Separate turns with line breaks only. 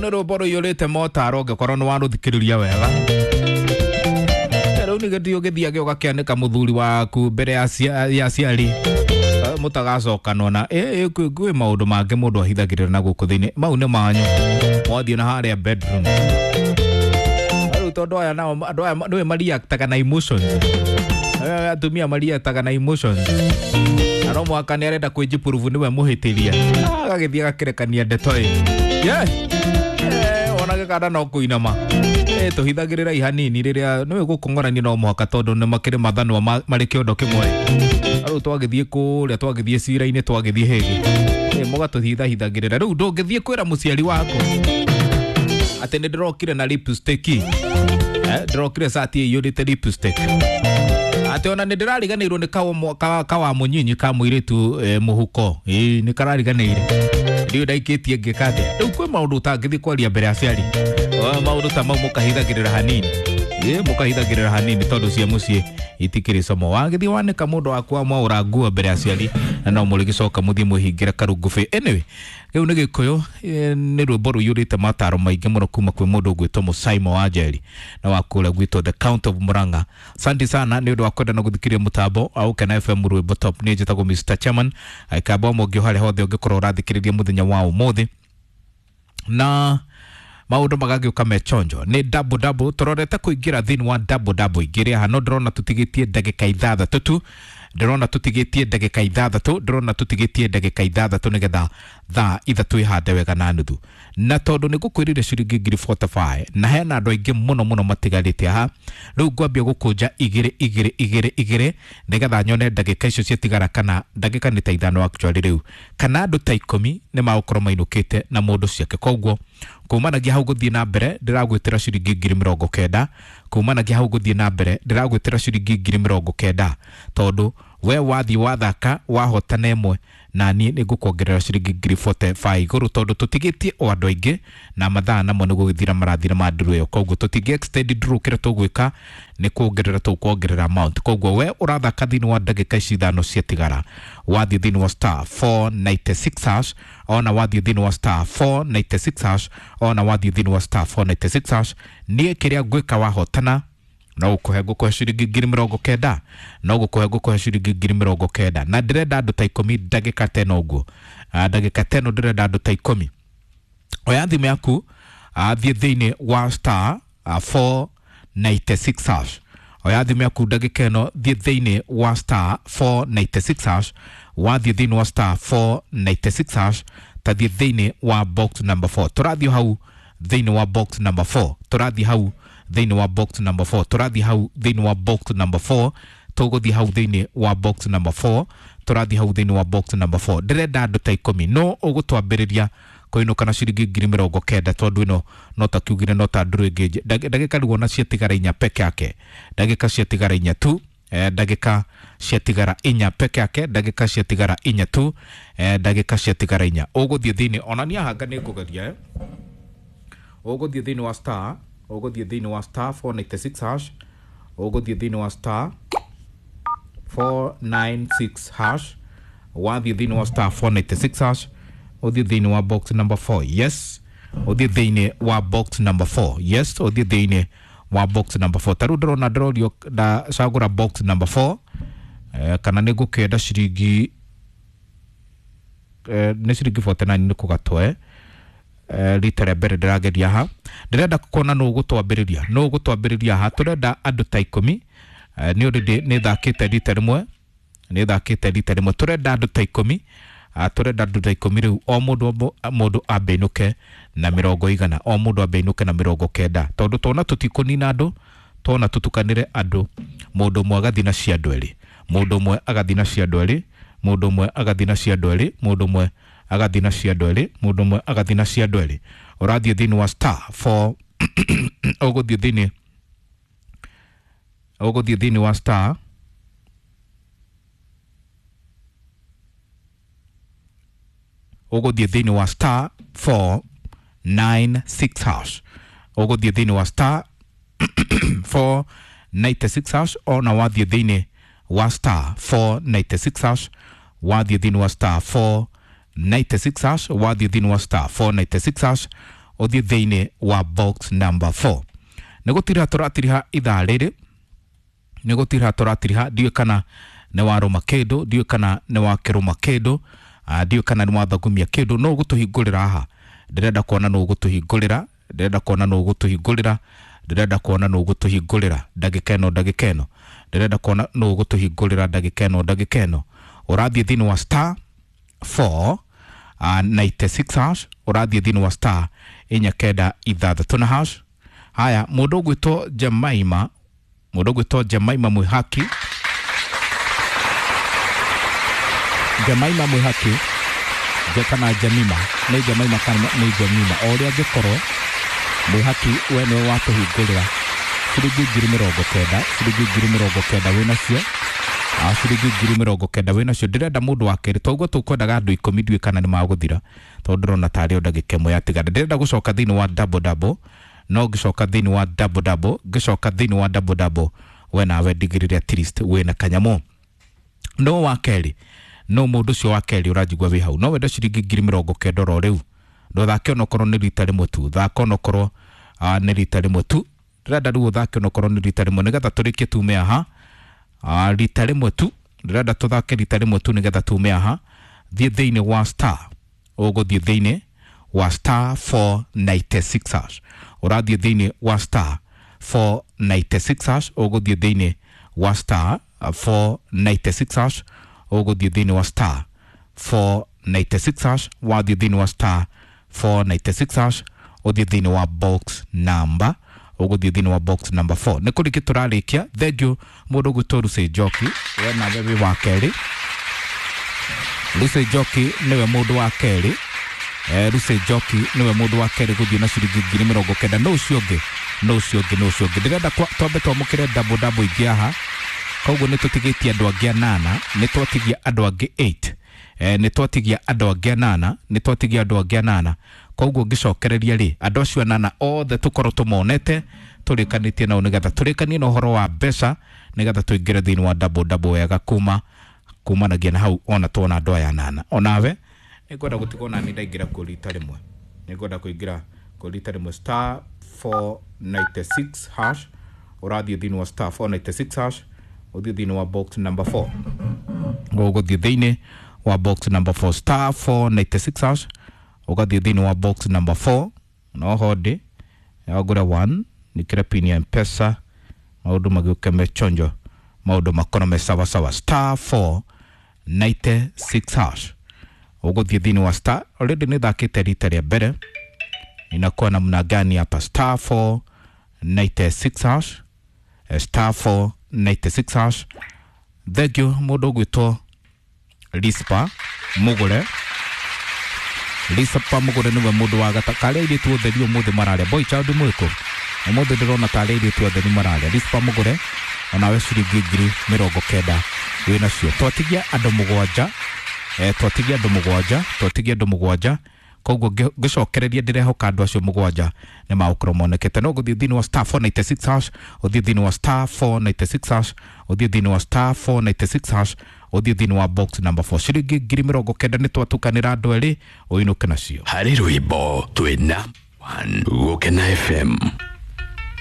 Rĩu nĩ rwĩmbo rũiyũrĩte motaro ũngĩkorwo nĩ warũthikĩrĩria wega. Rĩu nĩ gĩthiĩ ũgĩthiage ũgakĩanĩka mũthuri waku mbere ya aciari mũtagacokanwo na kwĩ maũndũ mangĩ mũndũ ahithagĩrĩra na gũkũ thĩinĩ mau nĩ manyu mwathiĩ na harĩa bedroom. Rĩu tondũ aya nao andũ aya nĩwe mariactaga na emotions, atumia mariactaga na emotions, na no mũhaka nĩ arenda kwĩnjipurubu nĩwe mũhĩtĩria, agagĩthiĩ agakĩrekania ndeto ĩ ona gĩkanda no kũinama. Tũhithagĩrĩra ihanini rĩrĩa nĩwe gũkũng'orania no mũhaka tondũ nĩ makĩrĩ mathanwa marĩ kĩondo kĩmwe. Rĩu twagĩthiĩ kũrĩa twagĩthiĩ cira-inĩ twagĩthiĩ hĩgĩ mũgatũhithahithagĩrĩra. Rĩu ndũngĩthiĩ kwĩra mũciari waku atĩ nĩ ndĩrokire na lipstick, ndĩrokire cati ĩiyũrĩte lipstick, atĩ ona nĩ ndĩrariganĩirwo nĩ kawa mũnyinyi ka mũirĩtu mũhuko, nĩ karariganĩire ndiũ ndaikĩtie ngĩka atĩa. Rĩu kwĩ maũndũ ũtangĩthiĩ kwaria mbere ya aciari, maũndũ ta mau mũkahithagĩrĩra hanini, mũkahithagĩrĩra hanini tondũ cia mũciĩ itikĩrĩ como. Wagĩthiĩ wanĩka mũndũ waku wamwaũra nguo mbere ya aciari na no mũrĩgĩcoka mũthiĩ mwĩhingĩre karungubĩ. Anyway, rĩu nĩ Gĩkũyũ, nĩ rwĩmbo rũiyũrĩte mataro maingĩ mũno kuma kwĩ mũndũ ũgwĩtwo Mũsaimo wa Njeri na wa kũrĩa gwitũ the Count of Murang'a. Asante sana nĩ ũndũ wa kwenda na gũthikĩrĩria mũtambo wa Gũkena FM rwĩmbo top. Niĩ njĩtagwo Mr Chairman aikamba mũngĩ harĩa hothe ũngĩkorwo ũrathikĩrĩria mũthenya wa ũmũthĩ na maũndũ magagĩũka me chonjo nĩ double double tũrorete kũingĩra thĩinĩ wa double double ingĩrĩ haha no ndĩrona tũtigĩtie ndagĩka ithathatũ tu, ndĩrona tũtigĩtie ndagĩka ithathatũ, ndĩrona tũtigĩtie ndagĩka ithathatũ nĩgetha thaa ithatũ ihande wega na nuthu, na tondũ nĩ ngũkwĩrire ciringi ngiri 45 na hena andũ aingĩ mũno mũno matigarĩte haha, rĩu ngwambia gũkũnja igĩrĩ igĩrĩ igĩrĩ igĩrĩ nĩgetha nyone ndagĩka icio ciatigara kana ndagĩka nĩ ta ithano actually rĩu kana andũ ta ikũmi nĩ magũkorwo mainũkĩte na mũndũ ciake. Koguo kumanagia hau gũthiĩ na mbere ndĩragwĩtĩra ciringi ngiri mĩrongo kenda, kumanagia hau gũthiĩ na mbere ndĩragwĩtĩra ciringi ngiri mĩrongo kenda tondũ we wathiĩ wathaka wahotana ĩmwe na niĩ nĩ ngũkuongerera ciringi ngiri 45 igũrũ tondũ tũtigĩtie o andũ aingĩ na mathaa namo nĩ gũgĩthira marathira ma nduru ĩyo. Koguo tũtingĩ extend nduru, kĩrĩa tũgwĩka nĩ kuongerera tũkuongerera amount. Koguo we ũrathaka thĩinĩ wa ndagĩka ici ithano ciatigara, wathiĩ thĩinĩ wa star 496 hash, ona wathiĩ thĩinĩ wa star 496 hash, ona wathiĩ thĩinĩ wa star 496 hash, niĩ kĩrĩa ngwĩka wahotana no gũkũhe ngũkũhe ciringi ngiri mĩrongo kenda, no gũkũhe ngũkũhe ciringi ngiri mĩrongo kenda, na ndĩrenda andũ ta ikũmi ndagĩka teno ũguo, ndagĩka teno ndĩrenda andũ ta ikũmi. Oya thimũ yaku, thiĩ thĩinĩ wa star 496 hash, oya thimũ yaku ndagĩka ĩno, thiĩ thĩinĩ wa star 496 hash, wathiĩ thĩinĩ wa star 496 hash, tathiĩ thĩinĩ wa box number 4, tũrathiĩ hau thĩinĩ wa box number 4, tũrathiĩ hau thĩinĩ wa box number 4, tũrathiĩ hau thĩinĩ wa box number 4, tũgũthiĩ hau thĩinĩ wa box number 4, tũrathiĩ hau thĩinĩ wa box number 4. Ndĩrenda andũ ta ikũmi no ũgũtwambĩrĩria kũinũka na ciringi ngiri mĩrongo kenda tondũ ĩno no ta kiugire no ta ndũrũ ĩngĩ ndagĩka rĩu ona ciatigara inya peke yake, ndagĩka ciatigara inya tu, ndagĩka ciatigara inya peke yake, ndagĩka ciatigara inya tu, ndagĩka ciatigara inya. Ũgũthiĩ thĩinĩ ona niĩ hanga nĩ ngũgeria, ũgũthiĩ thĩinĩ wa star, ũgũthiĩ thĩinĩ wa star 496 hash, ũgũthiĩ thĩinĩ wa star 496 hash, wathiĩ thĩinĩ wa star 496 hash, ũthiĩ thĩinĩ wa box number 4, yes, ũthiĩ thĩinĩ wa box number 4, yes, ũthiĩ thĩinĩ wa box number 4. Ta rĩu ndĩrona ndĩrorio ndacagũra box number 4, kana nĩ ngũkĩenda ciringi nĩ ciringi 49 nĩ kũgatwe rita rĩa mbere ndĩrageria haha, ndĩrenda kuona nũ ũgũtwambĩrĩria, nũ ũgũtwambĩrĩria haha. Tũrenda andũ ta ikũmi, nĩ already nĩ thakĩte rita rĩmwe, nĩ thakĩte rita rĩmwe, tũrenda andũ ta ikũmi, tũrenda andũ ta ikũmi rĩu o mũndũ mũndũ ambe ainũke na mĩrongo igana, o mũndũ ambe ainũke na mĩrongo kenda tondũ tona tũtikũnina andũ, tona tũtukanĩre andũ, mũndũ ũmwe agathiĩ na cia andũ erĩ, mũndũ ũmwe agathiĩ na cia andũ erĩ, mũndũ ũmwe agathiĩ na cia andũ erĩ, mũndũ ũmwe agathiĩ na cia andũ erĩ, mũndũ ũmwe agathiĩ na cia andũ erĩ. Ũrathiĩ thĩinĩ wa star 4 ũgũthiĩ thĩinĩ, ũgũthiĩ thĩinĩ wa star ũgũthiĩ thĩinĩ wa star 496 hash, ũgũthiĩ thĩinĩ wa star 496 hash, ona wathiĩ thĩinĩ wa star 496 hash, wathiĩ thĩinĩ wa star 496 hash, wathiĩ thĩinĩ wa star 496 hash, Ũthiĩ thĩinĩ wa box number 4. Nĩ gũtiriha tũratiriha ithaa rĩrĩ, nĩ gũtiriha tũratiriha, ndiũĩ kana nĩ warũma kĩndũ, ndiũĩ kana nĩ wakĩrũma kĩndũ, ndiũĩ kana nĩ wathagumia kĩndũ. No ũgũtũhingũrĩra haha, ndĩrenda kuona nũ ũgũtũhingũrĩra, ndĩrenda kuona nũ ũgũtũhingũrĩra, ndĩrenda kuona nũ ũgũtũhingũrĩra ndagĩka ĩno, ndagĩka ĩno, ndĩrenda kuona nũ ũgũtũhingũrĩra ndagĩka ĩno, ndagĩka ĩno. Ũrathiĩ thĩinĩ wa star 4 96 hash, ũrathiĩ thĩinĩ wa star 496 na hash. Haya, mũndũ ũgwĩtwo Jemaima, mũndũ ũgwĩtwo Jemaima Mwihaki, Jemaima Mwihaki kana Jemima, nĩ Jemaima kana nĩ Jemima, o ũrĩa angĩkorwo Mwihaki, we nĩwe watũhingũrĩra ciringi 90,000, ciringi 90,000 wĩnacio, ciringi 90,000 wĩnacio. Ndĩrenda mũndũ wa kerĩ, toguo tũkwendaga andũ 10, ndiũĩ kana nĩ magũthira tondũ ndĩrona tarĩ o ndagĩka ĩmwe yatigara. Ndĩrenda gũcoka thĩinĩ wa double double, no ngĩcoka thĩinĩ wa double double, ngĩcoka thĩinĩ wa double double, we nawe ndigĩrĩre at least wĩna kanyamũ. No wa kerĩ, no mũndũ ũcio wa kerĩ ũranjigua wĩ hau, no wende ciringi 90,000 oro rĩu, ndũthake onokorwo nĩ rita rĩmwe tu, thaka onokorwo nĩ rita rĩmwe tu. Ndĩrenda rĩu ũthake onokorwo nĩ rita rĩmwe nĩgetha tũrĩkie tume haha. Rita rĩmwe tu, ndĩrenda tũthake rita rĩmwe tu nĩgetha tume haha. Thiĩ thĩinĩ wa star, ũgũthiĩ thĩinĩ wa star 496 hash, ũrathiĩ thĩinĩ wa star 496 hash, ũgũthiĩ thĩinĩ wa star 496 hash, ũgũthiĩ thĩinĩ wa star 496 hash, wathiĩ thĩinĩ wa star 496 hash, ũthiĩ thĩinĩ wa box number, ũgũthiĩ thĩinĩ wa box number 4. Nĩ kũrĩkia tũrarĩkia. Thank you mũndũ ũgwĩtwo Lucy Njoki, we nawe wĩ wa kerĩ. Lucy Njoki nĩwe mũndũ wa kerĩ. Lucy Njoki nĩwe mũndũ wa kerĩ gũthiĩ na ciringi 90,000. No ũcio ũngĩ, no ũcio ũngĩ, no ũcio ũngĩ, ndĩrenda twambe twamũkĩre double double ingĩ haha. Koguo nĩ tũtigĩtie andũ angĩ anana, nĩ twatigia andũ angĩ 8, nĩ twatigia andũ angĩ anana, nĩ twatigia andũ angĩ anana. Koguo ngĩcokereria rĩ, andũ acio anana othe tũkorwo tũmonete, tũrĩkanĩtie nao nĩgetha tũrĩkanie na ũhoro wa mbeca, nĩgetha tũingĩre thĩinĩ wa double double wega kuma kumanagia na hau ona tuona andũ aya anana. Onawe nĩngwenda gũtigwo nani ndaingĩra kuo rita rĩmwe, nĩngwenda kũingĩra kuo rita rĩmwe star 496 hash, ũrathiĩ thĩinĩ wa star 496 hash, ũthiĩ thĩinĩ wa box number 4, ũgũthiĩ thĩinĩ wa box number 4, star 496 hash, ũgathiĩ thĩinĩ wa box number 4. No hodi wagũre 1 nikĩre pin ya Mpesa, maũndũ magĩũke mechonjo, maũndũ makorwo me sawasawa. Star 496 hash, ũgũthiĩ thĩinĩ wa star. Already nĩ thakĩte rita rĩa mbere, inakuwa namna gani hapa? Star 496 hash, star 496 hash. Thank you mũndũ ũgwĩtwo Rispa Mugure, Rispa Mugure nĩwe mũndũ wa gata karĩa airĩtu othe ri ũmũthĩ mararĩa. Boy child mwĩkũ ũmũthĩ ndĩrona tarĩa airĩtu othe nĩ mararĩa. Rispa Mugure onawe ciringi 90,000 wĩnacio. Twatigia andũ mũgwanja, twatigia andũ mũgwanja, twatigia andũ mũgwanja. Koguo ngĩcokereria ndĩrehoka andũ acio mũgwanja nĩ magũkorwo monekete. No gũthiĩ thĩinĩ wa star 496 hash, ũthiĩ thĩinĩ wa star 496 hash, ũthiĩ thĩinĩ wa star 496 hash, ũthiĩ thĩinĩ wa box number 4, ciringi 90,000 nĩ twatukanĩra andũ erĩ ũinũke nacio.
Harĩ rwĩmbo twĩna 1 Gũkena FM.